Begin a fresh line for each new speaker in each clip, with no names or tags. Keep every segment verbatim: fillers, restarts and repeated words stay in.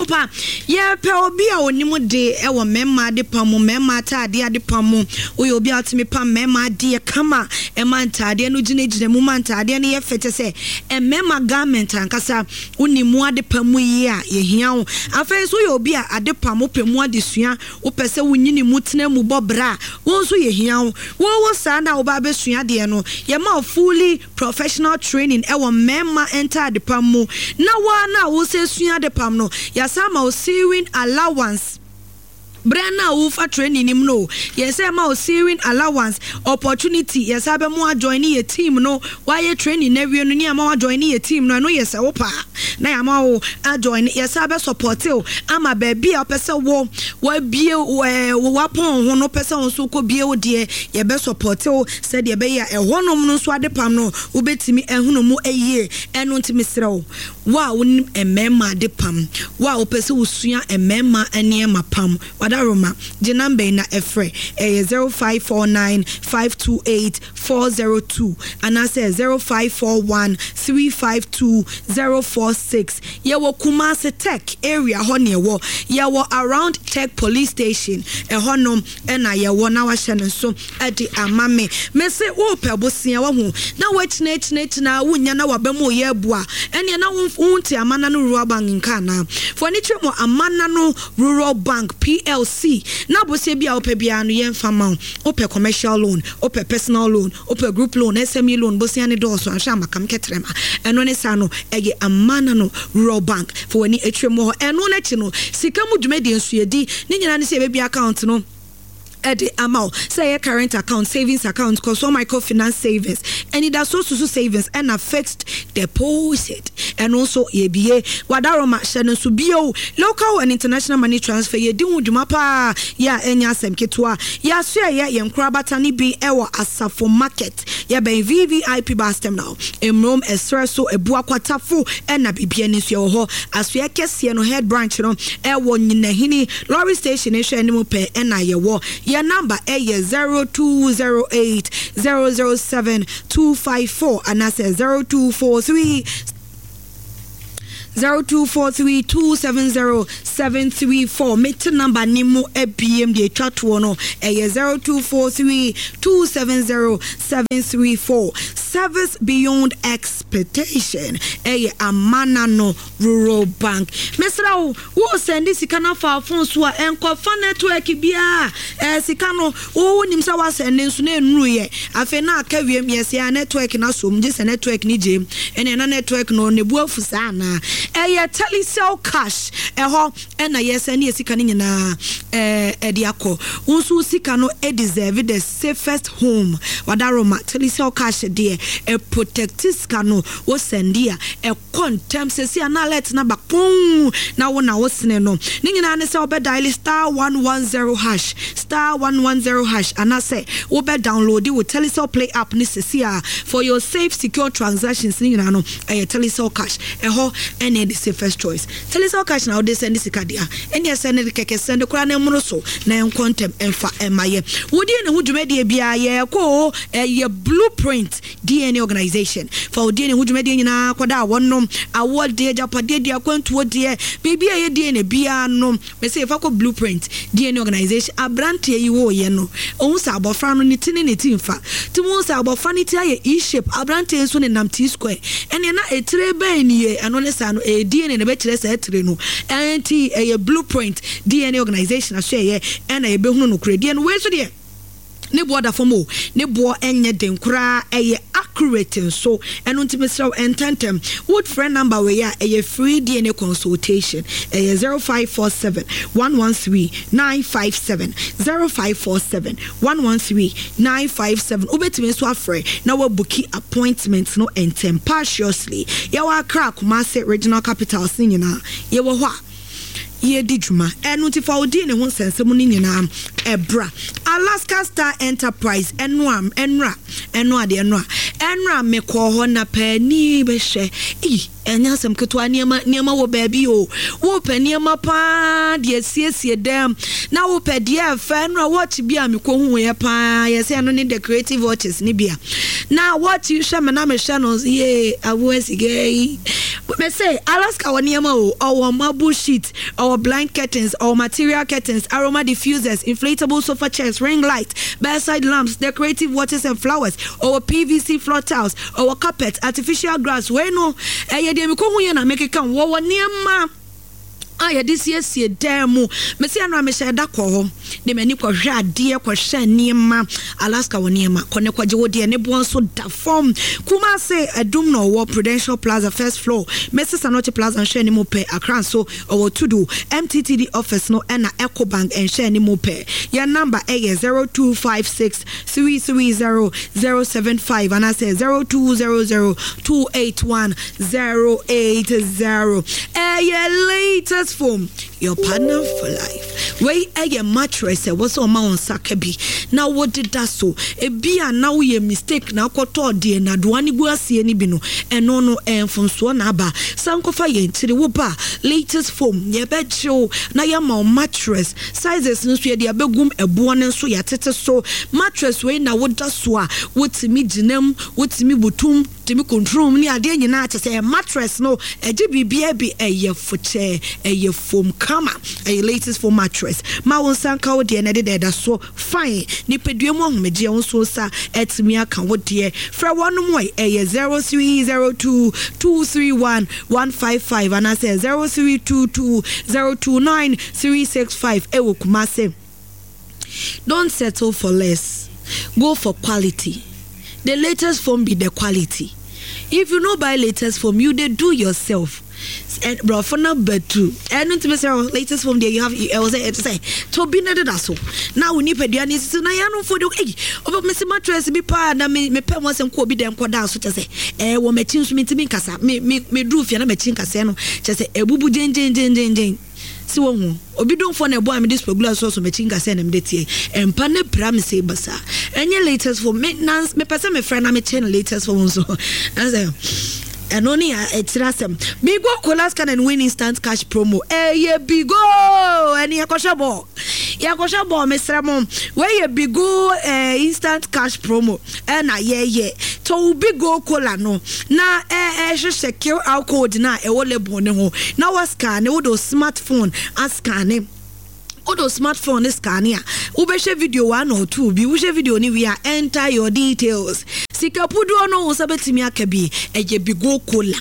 Pa yɛpɛ obi a onim de ɛwɔ mmarima ade pam mu, mmarima ataadeɛ ade pam mu. Woyɛ obi a wotumi pam mmarima adeɛ kama, ɛma ntaadeɛ no gyinagyina mu, ma ntaadeɛ no yɛ fɛ, kyɛ sɛ mmarima garment ankasa wonim mu ade pam mu yie a, yɛhia wo. Afei nso woyɛ obi a ade pam wopɛ mu adesua, wopɛ sɛ wonyini mu tena mu bɔ bra a, wo nso yɛhia wo. Wowo saa na woba abɛsua adeɛ no, yɛma wo fully professional training ɛwɔ mmarima ntaade pam mu. Na woa na wosɛ sua ade pam no, yɛasa ma wo sewing allowance. Berɛ no a wofa training nim no, yɛsɛ ma wo sewing allowance opportunity. Yɛsɛ bɛ mu ajoin ne yɛ team no. Wayɛ training na awie no ne ama wajoin ne yɛ team no. Ɛno yɛ sɛ wo paa na yɛama wo ajoin. Yɛsɛ bɛ support wo ama baabi a wopɛ sɛ wo wabie ɛɛ wapɔn ho no, wopɛ sɛ wo nso kɔ bie wo deɛ, yɛbɛ support wo sɛdeɛ ɛbɛyɛ a ɛhɔnom no nso ade pam no wobɛtumi ahunu mu ayie. Ɛno nti mesrɛ wo, wo a wonim mmarima ade pam, wo a wopɛ sɛ wosua mmarima nneɛma pam, wadaroma gye number yi na ɛfrɛ. Ɛyɛ zero five four nine five two eight four zero two anaasɛ zero five four one three five two zero four six. Yɛwɔ Kumase Tech area hɔ ne ɛwɔ. Yɛwɔ around Tech police station ɛhɔnom ɛna yɛwɔ. Na wahyɛ no nso ɛde ama me. Mese wopɛ bosea wahu na woakyinakyinakyina wonya na waba mu oyɛ abu a, ɛneɛ na wonte Amana no Rural Bank nka anaa? Fo ani kyerɛ mu Amana no Rural Bank P L C na bosea bi a wopɛ biara no yɛmfa ma wo. Wopɛ commercial loan, wopɛ personal loan, wopɛ group loan, S M E loan, bosea ne dɔɔso ahwɛ amakam kɛtrɛma. Ɛno ne saa no ɛyɛ Amana no Rural Bank. Fo w'ani atwere mu hɔ. Ɛno n'akyi no, sika mu dwumadie nso yɛdi ne nyinaa ne sɛ yɛbɛbi account no ɛde ama wo, sɛ ɛyɛ current account, savings account, kɔsɔ microfinance savings, ɛnidaso susu savings, ɛna fixed deposit, ɛno nso yɛbie. Wadaroma hyɛ no nso bio, local and international money transfer, yɛdi ho dwuma paa. Yɛ a ɛnyɛ asɛm ketewa. Yɛaso ɛyɛ yɛn nkorabata no bi ɛwɔ Asafo Market, yɛbɛn V V I P bus terminal, Mmurom ɛserɛ so, Ebu Akwatafo, ɛna biribia ni nso yɛwɔ hɔ. Asoɛ kɛseɛ no head branch no ɛwɔ Nyinahini lorry station ehwɛ anim pɛ ɛna yɛwɔ. Yɛn number ɛyɛ zero two zero eight zero zero seven two five four anaasɛ zero two four three zero two four three two seven zero seven three four. Mete number ne mu abiem deɛ etwa toɔ no ɛyɛ zero two four three two seven zero seven three four. Service beyond expectation, ɛyɛ Amana no Rural Bank. Mesrɛ wo, wo send sika no afa phone so a, ɛnkɔfa network biara. Ɛɛ sika no wo nim sɛ wasend nso na ɛnuruyɛ, afei na aka wiem yɛsɛ a network no asom gye sɛ network no gyem, ɛne ɛna network no ne bu afu saa anaa. Ɛyɛ Telecel Cash, ɛhɔ ɛna yɛsend yɛ sika no nyinaa ɛɛ ɛde akɔ. Wo nso sika no deserve the safest home. Wadaroma, Telecel Cash deɛ ɛprotect sika no. Wo send a, ɛkɔ ntɛm. Sɛsi a na alert na ba pɔn na wo na wo sene no ne nyinaa ne sɛ wobɛ dial star one one zero hash, star one one zero hash, anaasɛ wobɛ download wo Telecel Play app ne sɛsi a for your safe, secure transactions. Ne nyinaa no ɛyɛ Telecel Cash, ɛhɔ ɛne the safest choice. Telecel Cash na wode send sika deɛ a, ɛne ɛsɛ ne kɛkɛ send koraa na ɛmono so na ɛnkɔ ntɛm ɛmfa ɛma yɛ. Wodie ne ho dwumadie biara yɛkɔ o, ɛyɛ Blueprint D N A Organization. Fa wo D N A ho dwumadie nyinaa kɔda a wɔnom awoɔ deɛ, agyapadeɛ deɛ, akwantuo deɛ, biribi a ɛyɛ D N A biara no, mɛsɛ yɛfa kɔ Blueprint D N A Organization. Aberanteɛ yi wɔɔyɛ no, ɔhu sɛ abɔfra no ne ti ne ne ti mfa ti mu, sɛ abɔfra no ti ayɛ E shape, aberanteɛ nso ne nam T square, ɛneɛ na etire bɛn nie? Ɛno ne saa no ɛyɛ D N A na ɛbɛkyerɛ saa etire no. Ɛnti ɛyɛ Blueprint D N A Organization aso ɛyɛ ɛna yɛbɛhunu no korɛ deɛ no. Wei nso deɛ ne boɔ da fam o, ne boɔ nyɛ den koraa, ɛyɛ accurate nso. Ɛno nti mesrɛ wo, ɛntɛntɛm wofrɛ number wei a ɛyɛ free D N A consultation. Ɛyɛ zero five four seven one one three nine five seven, zero five four seven one one three nine five seven. Wobɛtumi nso afrɛ na wabook appointment no ntɛm paciously. Yɛwɔ Accra, Kumase, regional capitals ne nyinaa yɛwɔ hɔ a yɛdi dwuma. Ɛno nti fa odi ne ho nsɛnsɛm no nyinaa ɛbra Alaska Star Enterprise. Ɛno a ɛnora, ɛno adeɛ, ɛno a ɛnora mekɔɔ hɔ na paani bɛhwɛ eyi. Ɛnyɛ asɛm ketewa, nneɛma nneɛma wɔ baabi o. Wopɛ nneɛma paa deɛ asiesie dɛm na wopɛ deɛ ɛfɛ no a, watch bi a mekɔhuuɛ paa yɛ sɛ ɛno ne decorative watches ne bi a na watch yi hwɛ me na mehwɛ no yee aboa sika yi. Me se Alaska wɔ nneɛma o, ɔwɔ marble sheet, ɔwɔ blind curtains, ɔwɔ material curtains, aroma diffusers, inflatable sofa chairs, ring light, bedside lamps, decorative watches and flowers, ɔwɔ P V C floor tiles, ɔwɔ carpet, artificial grass. Wei no ɛyɛ deɛ mekɔhu yɛ na mekeka. Wɔwɔ nneɛma a yɛde siesie dan mu. Mesi ano a mehyɛ da kɔ hɔ de m'ani kɔhwɛ adeɛ, kɔhwɛ nneɛma. Alaska wɔ nneɛma. Kɔ ne kɔgye wo deɛ, ne boɔ nso da fam. Kumase Adum na ɔwɔ Prudential Plaza, first floor, Mrs Anoche Plaza nhwɛ anim pɛ. Accra nso ɔwɔ Tudu M T T D office no ɛna Ecobank nhwɛ anim pɛ. Yɛn number ɛyɛ zero two five six three three zero zero seven five anaasɛ zero two zero zero two eight one zero eight zero. Ɛyɛ Latest Foam, your partner for life. Wei ɛyɛ mattress ɛwɔ sɛ ɔma wo nsa ka bi na wode da so. Ebi a na woyɛ mistake na akɔtɔ deɛ nadoa ne gu aseɛ no bi no, ɛno no ɛmfonsoɔ na aba. San kɔfa yɛn kyiri wo ba Latest Foam, yɛbɛgye wo na yɛama wo mattress sizes no nso yɛde abɛgum. Ɛboɔ no nso yɛatete so. Mattress wei na woda so a, wotumi gyinam, wotumi butum, tumi control mu ne adeɛ nyinaa kyɛ sɛ mattress no ɛgye biribiara bi. Ɛyɛ fokyɛ, ɛyɛ foam kama, ɛyɛ Latest Foam mattress. Ma wo nsa nka wo deɛ na ɛde da ɛda so fine. Nipadua mu ahomegyeɛ, wo nso nsa ɛtumi aka wo deɛ. Frɛ wɔn mu, ɛyɛ zero three zero two two three one one five five anaasɛ zero three two two zero two nine three six five ɛwɔ Kumase. Don't settle for less, go for quality. The Latest Foam be the quality. If you no buy Latest Foam, you dey do yourself. Borɔfo no bɛtu ɛno ntumi sɛ Latest Foam deɛ, you have ɛwɔ sɛ ɛte sɛ tobi no deda so na wo nipadua no sisi na yɛanomfo de ɛyi ɔbɛ mesi mattress bi paa na me mepɛ mo asɛm kɔ obi dɛm kɔda so kyɛ sɛ ɛɛ wɔ m'akyi nso mentumi nkasa. Me me me duru fie na m'akyi nkasɛɛ no kyɛ sɛ ebubu gyengyengyengyengyeng si wɔn ho. Obi domfoɔ na ɛbɔ a mede spagula sɔɔso m'akyi nkasɛɛ na mede tie mpa ne pra me sɛ basa. Ɛnyɛ Latest Foam. Me nans mepɛ sɛ mefrɛ na mekyɛ no Latest Foam nso ɛsɛ ɛno ne ɛkyerɛ asɛm. Bigo Cola, scan and win instant cash promo. Ɛyɛ Bigo ɛne yɛkɔhwɛ bɔɔl, yɛkɔhwɛ bɔɔl. Mesrɛ mo, wɔyɛ Bigo eh, instant cash promo ɛna yɛyɛ. Tɔw Bigo Cola no na ɛhwehwɛ Q R code na ɛwɔ label ne ho na wɔ scan ne wode smartphone ascan ne wode smartphone ne scan a, wobɛhwɛ video one or two bi. Wohwɛ video no wie a, enter your details. Sika puduo no wo nsa bɛtumi aka bi. Ɛyɛ Bigo Cola.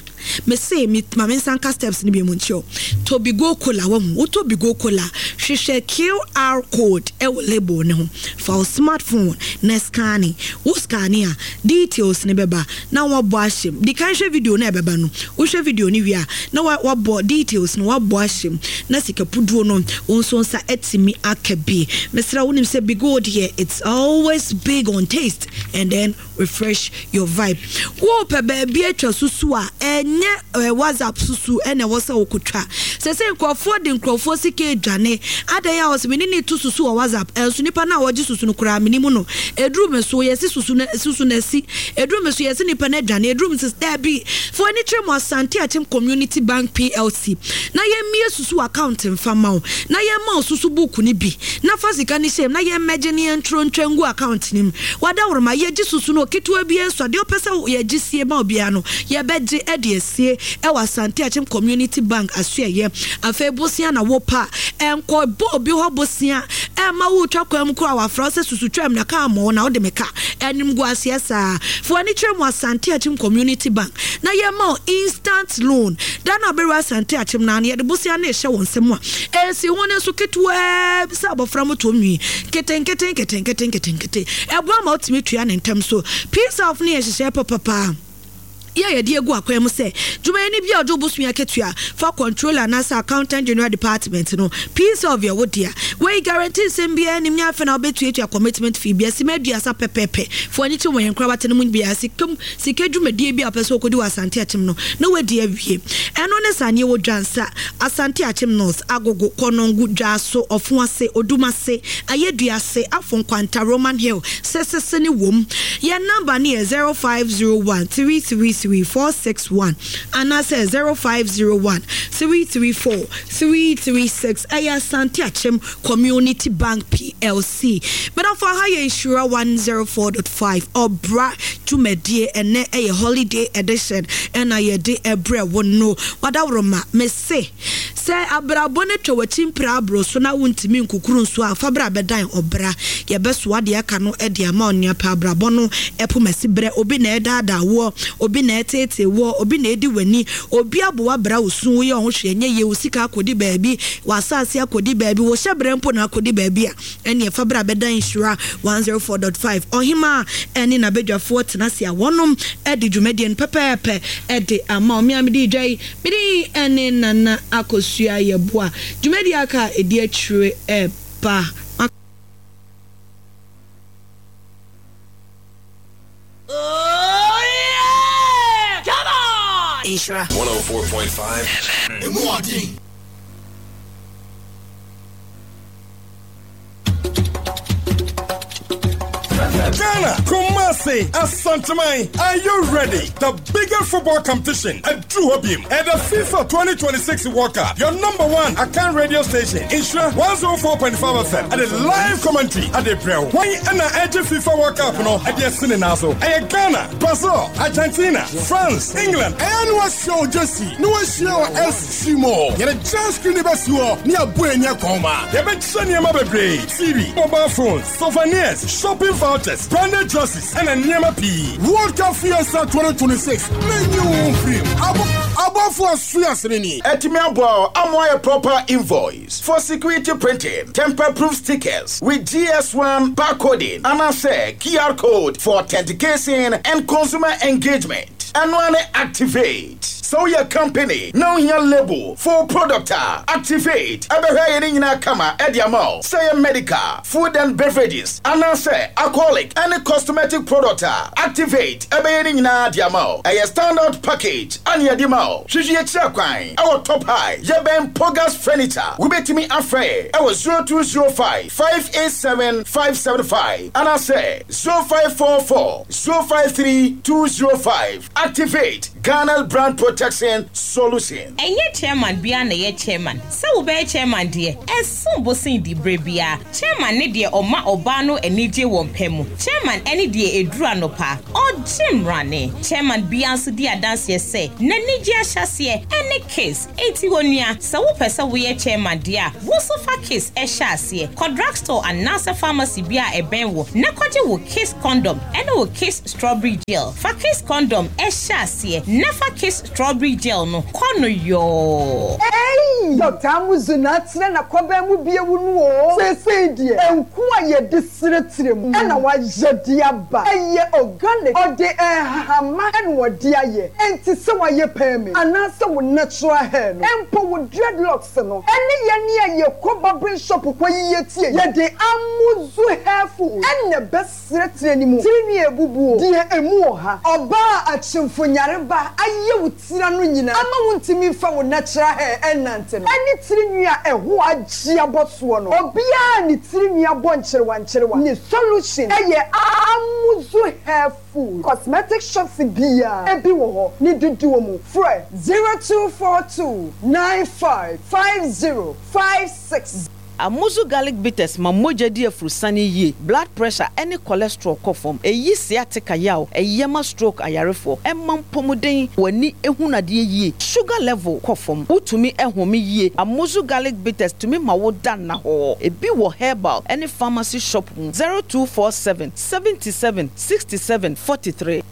Mese me ma me nsa nka steps no bi mu nkyɛw. Tɔ Bigo Cola, wahu wotɔ Bigo Cola, hwehwɛ Q R code ɛwɔ label ne ho, fa wo smartphone na scan. Wo scan a, details ne bɛba na wabɔ ahyɛm. Di kan hwɛ video no a ɛbɛba no. Wohwɛ video no wie a, na wabɔ details no, wabɔ ahyɛm na sika puduo no wo nso nsa atumi aka bi. Mesrɛ, wonim sɛ Bigo deɛ, it's always big on taste and then refresh your vibe. Wopɛ baabi atwa susu a, ɛnyɛ ɛ WhatsApp susu ɛna ɛwɔ sɛ wokotwa sɛ sɛ nkurɔfoɔ de nkurɔfoɔ sika adwane adan a wɔsɛ mene ne to susu wɔ WhatsApp. Ɛnso nipa no a wɔgye susu no koraa mene mu no ɛduru me so yɛsi susu no, susu no asi ɛduru me so yɛsi nipa no adwane ɛduru me so. Daabi, fo ani kyerɛ mu Asante Akyem Community Bank P L C na yɛmmie susu account mfa ma wo na yɛmma wo susu book no bi na fa sika no hyɛ mu na yɛmmɛgye ne yɛntoro ntwa ngu account no mu. Wadaworoma yɛgye susu no ketewa bi nso adeɛ wopɛ sɛ yɛgye sie ma obiara no, yɛbɛgye de asie ɛwɔ Asante Akyem Community Bank asoɛyɛ. Afei bosia na wopa ɛnkɔ bɔ obi hɔ bosia ɛma wotwa kwan mu koro a wafra sɛ susu twam na kaa mɔ na wode me ka ɛnim gu aseɛ saa. Fo ani kyerɛ mu Asante Akyem Community Bank na yɛma wo instant loan da na wobɛwura Asante Akyem na yɛde bosia no ɛhyɛ wɔn nsam a ɛsi ho no nso ketewaa sɛ abɔfra moto nwi nketenkete nketenkete nketenkete. Ɛboa ma wotumi tua ne ntɛm so. Peace of ne yɛ hyehyɛ papapaa yɛ yɛde egu akwan mu sɛ dwumayɛni bi a ɔde obosua akatua fa Controller anaasɛ Accountant General Department no, peace of yɛ wo dea. Wei guarantee nsɛm biara nim nyɛ afei na wobɛtuatua commitment fee bia sima aduasa pɛpɛɛpɛ. Fo ani kye wɔ yɛn nkorabata no mu biara. Sika sika dwumadie bi a wopɛ sɛ wokɔdi wɔ Asante Akyem no na woadi awie. Ɛno ne saa neɛ wɔ Dwansa, Asante Akyem North, Agogo, Kɔnɔngo, Dwaso, Ɔfoase, Odumase, Ayɛduase, Afo Nkwanta, Roman Hill, sesese ne wom. Yɛn number ne yɛ zero five zero one three three three three four six one anaasɛ zero five zero one three three four three three six. Ɛyɛ Asante Akyem Community Bank P L C. Medafo, aha yɛ Nhyira one zero four point five, Ɔbra dwumadie. Ɛnɛ ɛyɛ holiday edition ɛna yɛde ɛbrɛ wo no. Wadaworoma, mese sɛ abrabɔ no twa w'akyi mpira aboro so na wontumi nkukuru nso a, fa bra bɛdan ɔbra, yɛbɛsoa deɛ aka no de ama ɔnea pɛ. Abrabɔ no ɛpo masi berɛ, obi na ɛdaadaa woɔ, obi na ɛteetee woɔ, obi na ɛdi w'ani, obi aboa bra wo su, woyɛ ɔho hwɛ nyɛ yie, wo sika akɔdi baabi, w'asase akɔdi baabi, wo hyɛ berɛ mpo na akɔdi baabi a, ɛne ɛfa bra bɛdan Nhyira one zero four point five. Ɔhema ɛne n'abadwafoɔ tena ase a wɔnom ɛde dwumadie no pɛpɛɛpɛ ɛde ama ɔme a mede dwa yi. Mede ɛne Nana Akosua Yɛboa dwumadie aka a ɛdi akyire ɛba.
Oh yeah! Come on!
Nhyira
one oh four point five F M.
Emu ɔden.
Ghana, Kumasi, Asanteman, are you ready? The biggest football competition at Drew Hobim at the FIFA twenty twenty-six World Cup. Your number one Akan radio station, Nhyira one oh four point five F M, at the live commentary at the Brel. Why and the FIFA World Cup no at the Sininazo? Ghana, Brazil, Argentina, France, England,
Ɛyɛ ne wahyia wo jersey ne wahyia wɔ S C Mall. Yɛde giant screen bɛsi hɔ ne yɛabɔ ani akɔn.
Yɛbɛkyerɛ nneɛma bebree: T V, mobile phones, souvenirs, shopping vouchers, branded dresses, ɛna nneɛma pii.
World Cup Fiesta twenty twenty-six, menyi wo mfirim abɔfoɔ so asene ni.
Ɛtumi aboa ama ayɛ proper invoice for security printing, tamper proof stickers with G S one barcoding anaasɛ Q R code for authentication and consumer engagement. Ɛno ne Activate. Sɛ woyɛ company na wohia label for product a, Activate ɛbɛhwɛ yɛ ne nyinaa kama ɛde ama wo. Sɛ yɛ medical, food and beverages anaasɛ alcoholic ɛne cosmetic product a, Activate ɛbɛyɛ ne nyinaa de ama wo. Ɛyɛ standard package ane yɛde ma wo. Hwehwɛ yɛkyerɛ kwan ɛwɔ Top High, yɛbɛn Pogas Furniture. Wobɛtumi afrɛ ɛwɔ zero two zero five five eight seven five seven five anaasɛ zero five four four zero five three two zero five. Activate, Ghana brand protection solution.
Ɛnyɛ chairman bia na ɛyɛ chairman. Sɛ wobɛyɛ chairman deɛ, ɛsom bo sen di berɛ biara. Chairman ne deɛ ɔma ɔbaa no anigye wɔ mpɛ mu. Chairman ɛne deɛ ɛduru anɔpa ɔgye mmarane. Chairman bia nso di adanseɛ sɛ n'anigye ahyɛseɛ ɛne Kiss. Enti wɔ nua, sɛ wopɛ sɛ woyɛ chairman deɛ a, wo nso fa Kiss ɛhyɛ aseɛ. Kɔ drugstore anaasɛ pharmacy bi a ɛbɛn wo na kɔgye wo Kiss condom ɛne wo Kiss strawberry gel. Fa Kiss condom ɛhyɛ aseɛ na fa Kiss strawberry gel no kɔ no yɔɔ.
Ei, Doctor Amuzu na atena na kɔbɛn mu bie wu no o. Seesei deɛ, nku a yɛde seretire mu ɛna wayɛ de aba. Ɛyɛ organic, ɔde nhahama ɛna wɔde ayɛ. Enti sɛ wayɛ perm anaasɛ wo natural hair no, mpo wo dreadlocks no, ɛne yɛne a yɛkɔ barbering shop kɔ yiyɛ tie, yɛde Amuzu hair food ɛna ɛbɛseretire ne mu. Tirinwi ebubuo deɛ emu wɔ ha. Ɔbaa akyemfo nyareba ayɛ wo tira no nyinaa ama wo ntumi nfa wo natural hair ɛnante no, ɛne tirinwi a ɛho agye abɔ soɔ no, obiara ne tirinwi abɔ nkyerewa nkyerewa ne solution ɛyɛ Amuzu hair food. Cosmetic shops biara ebi wɔ hɔ ne dodoɔ mu. Frɛ zero two four two nine five five zero five six.
Amuzu garlic bitters ma mogya di afurusane yie, blood pressure ɛne cholesterol kɔ fam, ɛyi sciatica yaw, ɛyɛ ma stroke ayarefoɔ, ɛma mpɔmuden, w'ani ehunu adeɛ yie, sugar level kɔ fam, wotumi ɛhome yie. Amuzu garlic bitters tumi ma wo da nna hɔ. Ebi wɔ herbal ɛne pharmacy shop mu. zero two four seven seventy seven sixty seven forty three.